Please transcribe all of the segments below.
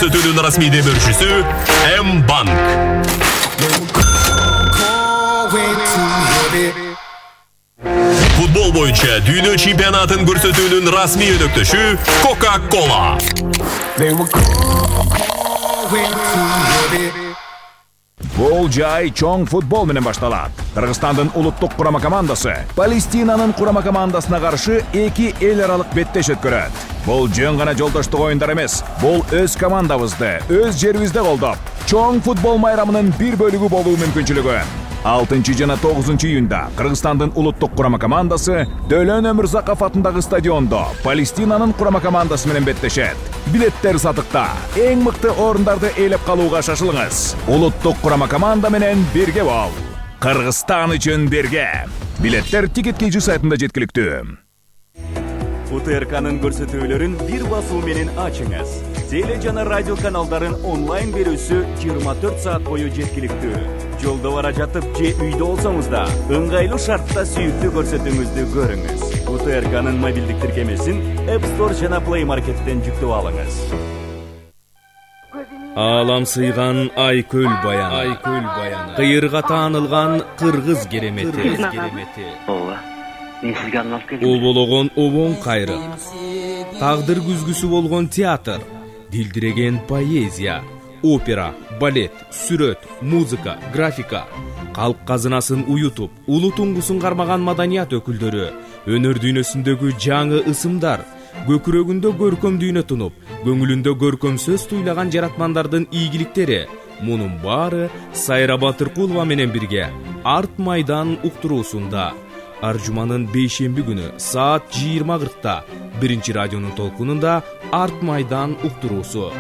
Көрсөтүүнүн расмий демөөрчүсү М-банк. Футбол боюнча дүйнө чемпионатын көрсөтүүнүн расмий өнөктөшү Coca-Cola. Бул жай чоң футбол менен башталат. Кыргызстандын улуттук курама командасы Палестинанын курама командасына каршы эки эл аралык беттеш өткөрөт. Бул жөн гана жолдоштук оюндар эмес. Бул өз командабызды, өз жерибизде колдоп, чоң футбол майрамынын бир бөлүгү болуу мүмкүнчүлүгү. 6 жана 9 июнда Кыргызстандын улуттук курама командасы Дөлөн Өмүрзаков атындагы стадиондо Палестинанын курама командасы менен беттешет. Билеттер сатыкта. Эң мыкты орундарды ээлеп калууга шашылыңыз. Улуттук курама команда менен бирге бол. Кыргызстан үчүн бирге. Билеттер Ticket.kg сайтында жеткиликтүү. УТРКнын көрсөтүүлөрүн бир басуу менен ачыңыз. Теле жана радио каналдарын онлайн берүүсү 24 саат бою жеткиликтүү. Жолдо бара жатып же үйдө болсоңуз да, ыңгайлуу шартта сүйүктүү көрсөтүүңүздү көрүңүз. УТРКнын мобилдик тиркемесин App Store жана Play Market'тен жүктөп алыңыз. Алам сыйган Айкөл баяны. Кыйырга таанылган кыргыз керемети. Обологон обон кайры. Тагдыр күзгүсү болгон театр, дилдиреген поэзия, опера, балет, сүрөт, музыка, графика, калк казынасын уютуп, улуу туңгусун кармаган маданият өкүлдөрү, өнөр дүйнөсүндөгү жаңы ысымдар, көкүрөгүндө көркөм дүйнө тунуп, көңүлүндө көркөм сөз туйлаган жаратмандардын ийгиликтери. Мунун баары Сайра Батыркулова менен бирге Арт майдан уктуруусунда. Аржуманын бейшемби күнү саат 20:40-та биринчи радионун толкунунда Арт майдан уктуруусу.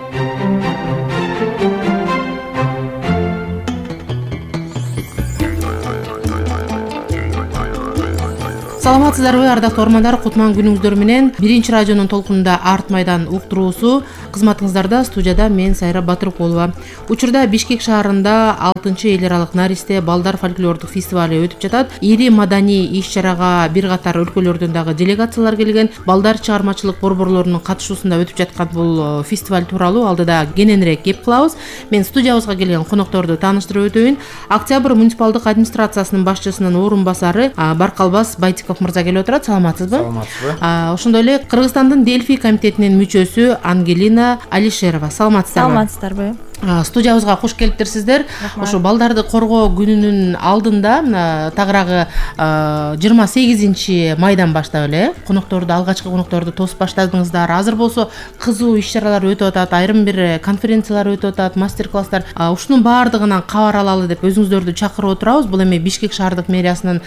Саламатсыздарбы, ардактуу ормандар, кутман күнүңүздөр менен биринчи радионун толкунунда Арт майдан уктуруусу кызматыңыздарда. Студияда мен Сайра Батыркулова. Учурда Бишкек шаарында 6 эл аралык наристе балдар фольклордук фестивали өтүп жатат. Ири маданий иш-чарага бир катар өлкөлөрдөн дагы делегациялар келген. Балдар чыгармачылык борборлорунун катышуусунда өтүп жаткан бул фестиваль тууралуу алдыда кененирээк кеп кылабыз. Мен студиябызга келген конокторду тааныштырып өтөйүн. Октябрь муниципалдык администрациясынын башчысынын орун басары Баркалбас Байтиков мырза келип отурат. Саламатсызбы? Саламатсызбы. Ошондой эле Кыргызстандын Дельфи комитетинин мүчөсү Ангелина Алишерова. Саламатсыздарбы? Саламатсыздарбы. Студиябызга кош келипсиздер. Ошо балдарды коргоо күнүнүн алдында тагыраагы 28 майдан баштап эле конокторду, алгачкы конокторду тосуп баштадыңыздар. Азыр болсо кызуу иш-чаралар өтүп атат, айрым бир конференциялар өтүп атат, мастер-класстар. Ушунун баардыгынан кабар алалы деп өзүңүздөрдү чакырып отурабыз. Бул эми Бишкек шаардык мэриясынын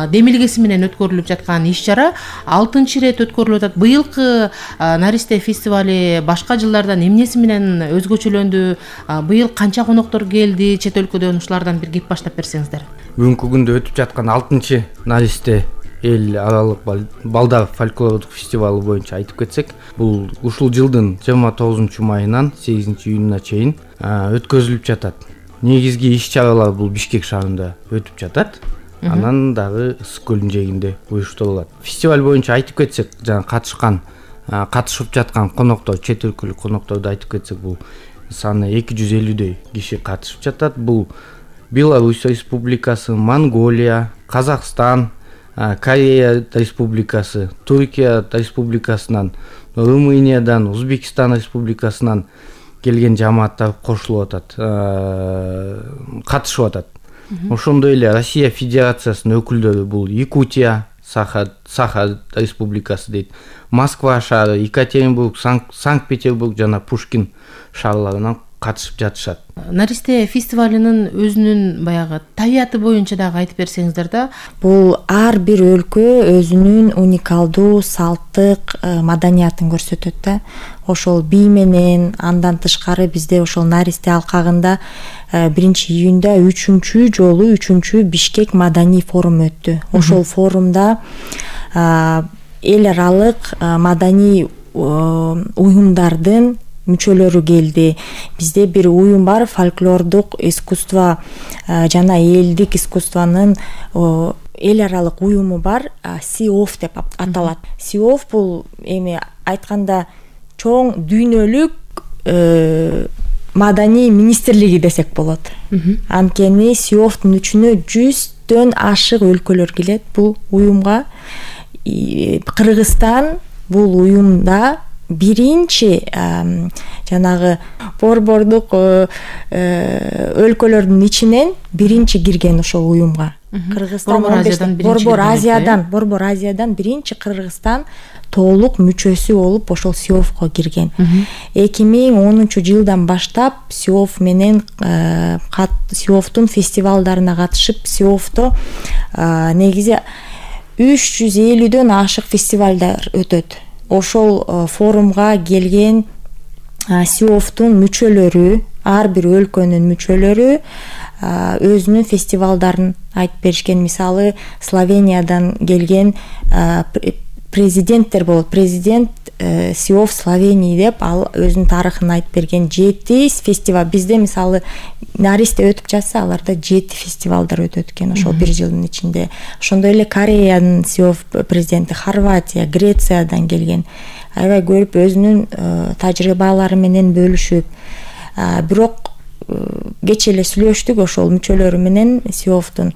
демилгеси менен өткөрүлүп жаткан иш-чара 6 ирет өткөрүлүп атат. Быйылкы наристе фестивали башка жылдардан эмнеси менен өзгөчөлөндү? Быйыл канча коноктор келди чет өлкөдөн? Ушулардан бир кеп баштап берсеңиздер. Бүгүнкү күндө өтүп жаткан 6 наристе эл аралык балдар фольклордук фестивалы боюнча айтып кетсек, бул ушул жылдын 29 майынан 8 июнуна чейин өткөрүлүп жатат. Негизги иш-чаралар бул Бишкек шаарында өтүп жатат. Анан дагы Ысык көлүнүн жээгинде уюштурулат. Фестиваль боюнча айтып кетсек, жана катышып жаткан коноктор, чет өлкөлүк конокторду айтып кетсек, бул саны 250дөй киши катышып жатат. Бул Беларусь республикасы, Монголия, Казакстан, Корея республикасы, Туркия республикасынан, Румыниядан, Узбекистан республикасынан келген жамааттар кошулуп атат, катышып атат. Ошондой эле Россия Федерациясынын өкүлдөрү бул Якутия, Саха республикасы дейт, Москва шаары, Екатеринбург, Санкт-Петербург жана Пушкин шаарларынан катышып жатышат. Наристе фестивалынын өзүнүн баягы табияты боюнча дагы айтып берсеңиздер да. Бул ар бир өлкө өзүнүн уникалдуу салттык маданиятын көрсөтөт да. Ошол бий менен, андан тышкары бизде ошол наристе алкагында 1-июнда 3-жолу Бишкек маданий форум өттү. Ошол форумда эл аралык маданий уюмдардын мүчөлөрү келди. Бизде бир уюм бар, фольклордук искусство жана элдик искусствонун эл аралык уюму бар, СИОФ деп аталат. СИОФ бул эми айтканда чоң дүйнөлүк маданий министрлиги десек болот. Анткени СИОФтун ичине 100дөн ашык өлкөлөр келет бул уюмга. Кыргызстан бул уюмда биринчи жанагы борбордук өлкөлөрдүн ичинен биринчи кирген ошол уюмга. Кыргызстан Борбор Азиядан биринчи Кыргызстан толук мүчөсү болуп ошол СИОФко кирген. 2010-жылдан баштап СИОФ менен СИОФтун фестивалдарына катышып, СИОФто негизи 350дөн ашык фестивалдар өтөт. Ошол форумга келген СИОФтун мүчөлөрү, ар бир өлкөнүн мүчөлөрү өзүнүн фестивалдарын айтып беришкен. Мисалы, Словениядан келген президенттер болот. Президент СИОФ Словения деп ал өзүнүн тарыхын айтып берген. 7 фестиваль. Бизде мисалы Наристе өтүп жатса, аларда 7 фестивалдар өтөт экен ошол бир жылдын ичинде. Ошондой эле Кореянын СИОФ президенти, Хорватия, Грециядан келген. Аябай көрүп өзүнүн тажрыйбалары менен бөлүшүп, бирок кечээ эле сүйлөштүк ошол мүчөлөрү менен СИОФтун.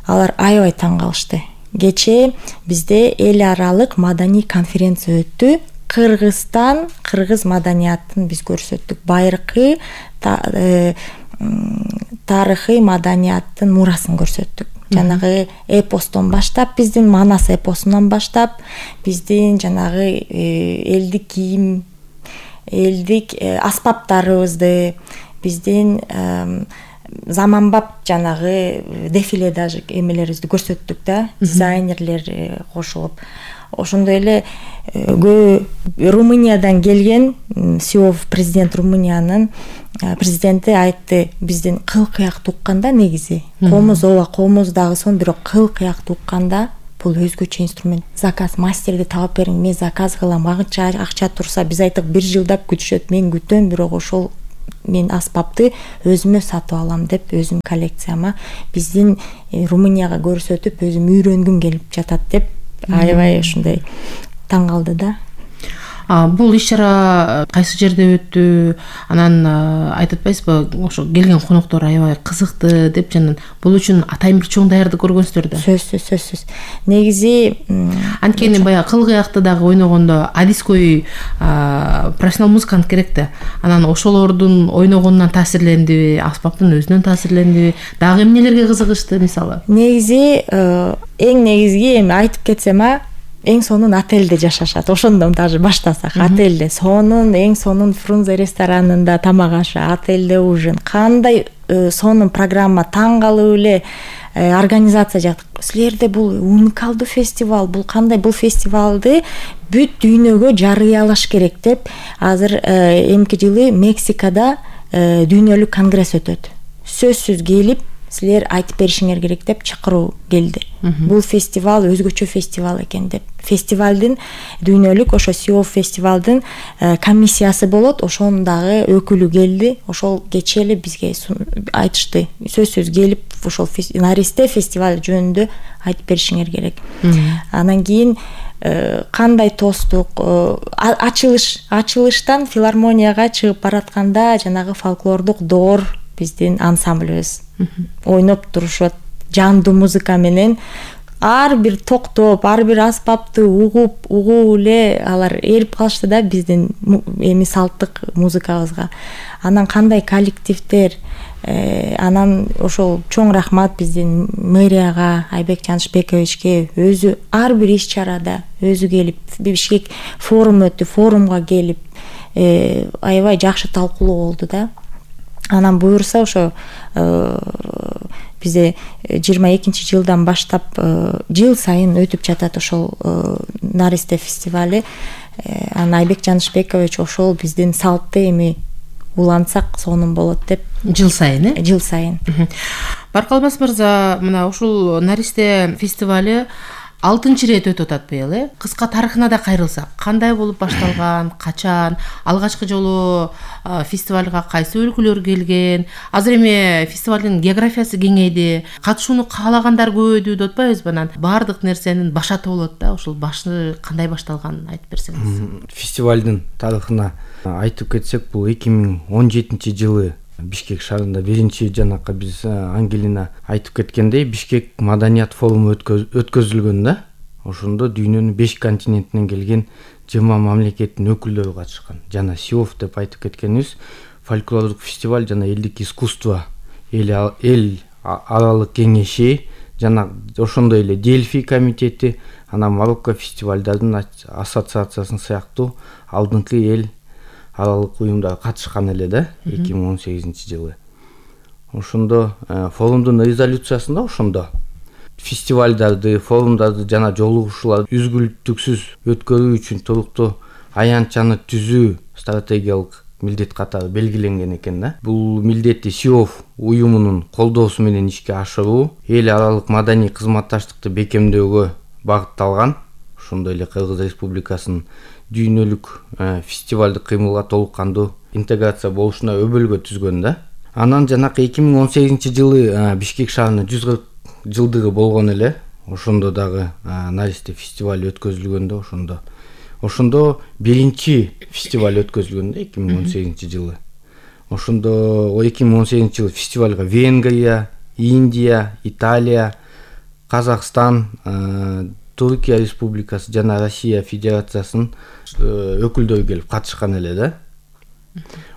Алар аябай таң калышты. Кечээ бизде эл аралык маданий конференция өттү. Кыргызстан, кыргыз маданиятын биз көрсөттүк. Байыркы тарыхый маданияттын мурасын көрсөттүк. Жанагы эпостон баштап, биздин Манас эпосунан баштап, биздин жанагы элдик кийим, элдик аспаптарыбызды, биздин заманбап жанагы дефиле даже эмелерибизди көрсөттүк да, дизайнерлер кошулуп. Ошондой эле Румыниядан келген СИОФ президент, Румыниянын президенти айтты, биздин кыл кыяк укканда негизи комуз дагы сон, бирок кыл кыяк укканда бул өзгөчө инструмент. Заказ, мастерди таап бериң, мен заказ кылам, агынча акча турса, биз айттык 1 жылдап күтүшөт, мен күтөм, бирок ошол мен аспапты өзүмө сатып алам деп, өзүм коллекцияма биздин Румынияга көрсөтүп, өзүм үйрөнгүм келип жатат деп аябай ушундай таң калды да. Бул иш-чара кайсы жерде өттү? Анан айтып атпайсызбы, ошо келген коноктор аябай кызыкты деп, жана бул үчүн атайын бир чоң даярдык көргөнсүздөр да. Сөзсүз. Негизи анткени баягы кыл кыякты дагы ойногондо адиской профессионал музыкант керек да. Анан ошолордун ойногонунан таасирлендиби, аспаптын өзүнөн таасирлендиби, дагы эмнелерге кызыгышты мисалы? Негизи эң негизги эми айтып кетсем, эң сонун отельде жашашат. Ошондон даже баштасак, отельде эң сонун Фрунзе ресторанында тамак ашы, отельде ужин. Кандай сонун программа, таң калып эле организация жактык. Силерде бул уникалдуу фестиваль, бул кандай, бул фестивалды бүт дүйнөгө жарыялаш керек деп, азыр эмки жылы Мексикада дүйнөлүк конгресс өтөт. Сөзсүз келип силер айтып беришиңер керек деп чакыруу келди. Бул фестиваль өзгөчө фестиваль экен деп. Фестивалдын дүйнөлүк ошо СИОФ фестивалдын комиссиясы болот, ошонун дагы өкүлү келди. Ошол кечээ эле бизге айтышты. Сөзсүз келип ошол Наристе фестиваль жөнүндө айтып беришиңер керек. Анан кийин кандай тостук, ачылыштан филармонияга чыгып баратканда жанагы фольклордук доор биздин ансамблыбыз ойноп турушат, жандуу музыка менен ар бир токтоп, ар бир аспапты угуп эле алар эрип калышты да биздин эми салттык музыкабызга. Анан кандай коллективдер, анан ошол чоң рахмат биздин мэрияга, Айбек Жанышбековичке, өзү ар бир иш-чарада өзү келип, Бишкек форум өттү, форумга келип аябай жакшы талкуулоо болду да. Анан буюрса ошо бизде 22-жылдан баштап жыл сайын өтүп жатат ошол Наристе фестивали. Анан Айбек Жанышбекович ошол биздин салтты эми улантсак сонун болот деп. Жыл сайын, Жыл сайын. Баркалбас мырза, мына ушул Наристе фестивали 6 ирет өтүп атат быйыл. Кыска тарыхына да кайрылсак, кандай болуп башталган, качан, алгачкы жолу фестивалга кайсы өлкөлөр келген, азыр эми фестивалдын географиясы кеңейди, катышууну каалагандар көбөйдү деп атпайбызбы? Анан баардык нерсенин башаты болот да, ошол башы кандай башталганын айтып берсеңиз. Фестивалдын тарыхына айтып кетсек, бул 2017 жылы Бишкек шаарында биринчи жанакы биз Ангелина айтып кеткендей Бишкек маданият форуму өткөзүлгөн да. Ошондо дүйнөнүн 5 континентинен келген 20 мамлекеттин өкүлдөрү катышкан. Жана СИОФ деп айтып кеткенибиз фольклордук фестиваль жана элдик искусство эл аралык кеңеши жана ошондой эле Дельфи комитети, анан Марокко фестивалдардын ассоциациясын сыяктуу алдыңкы эл аралык уюмдар катышкан эле да 2018 жылы. Ошондо форумдун резолюциясында ошондо фестивалдарды, форумдарды жана жолугушууларды үзгүлтүксүз өткөрүү үчүн туруктуу аянтчаны түзүү стратегиялык милдет катары белгиленген экен да. Бул милдетти СИОФ уюмунун колдоосу менен ишке ашыруу, эл аралык маданий кызматташтыкты бекемдөөгө багытталган. Ошондой эле Кыргыз Республикасынын дүйнөлүк фестивалдык кыймылга толук кандуу интеграция болушуна өбөлгө түзгөн да. Анан жанакы 2018 жылы Бишкек шаарынын 140 жылдыгы болгон эле. Ошондо дагы Наристе фестиваль өткөзүлгөндө ошондо биринчи фестиваль өткөзүлгөн да 2018 жылы. Ошондо 2018 жылы фестивалга Венгрия, Индия, Италия, Казакстан, Туркия Республикасы жана Россия Федерациясынын өкүлдөрү келип катышкан эле да.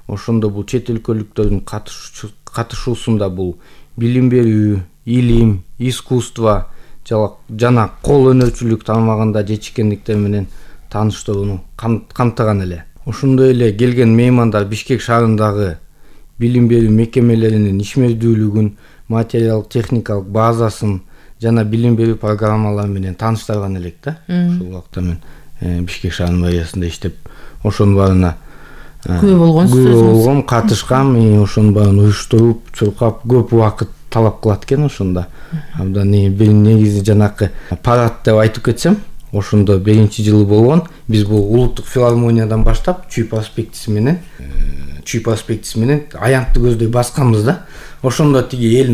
Ошондо бул чет өлкөлүктөрдүн катышуусунда бул билим берүү, илим, искусство жана кол өнөрчүлүк тармагында жетишкендиктер менен тааныштырууну камтыган эле. Ошондой эле келген меймандар Бишкек шаарындагы билим берүү мекемелеринин ишмердүүлүгүн, материалдык техникалык базасын жана билим берүү программалары менен тааныштырган элек да. Ошол убакта мен Бишкек шаарынын мэриясында иштеп, ошонун баарына күбө болгон, катышкам, ошонун баарын уюштуруп, чуркап көп убакыт талап кылат экен ошондо. Абдан бир негизи жанакы парад деп айтып кетсем, ошондо биринчи жылы болгон. Биз бул улуттук филармониядан баштап Чүй проспектиси менен аянтты көздөй басканбыз да. Ошондо тиги эл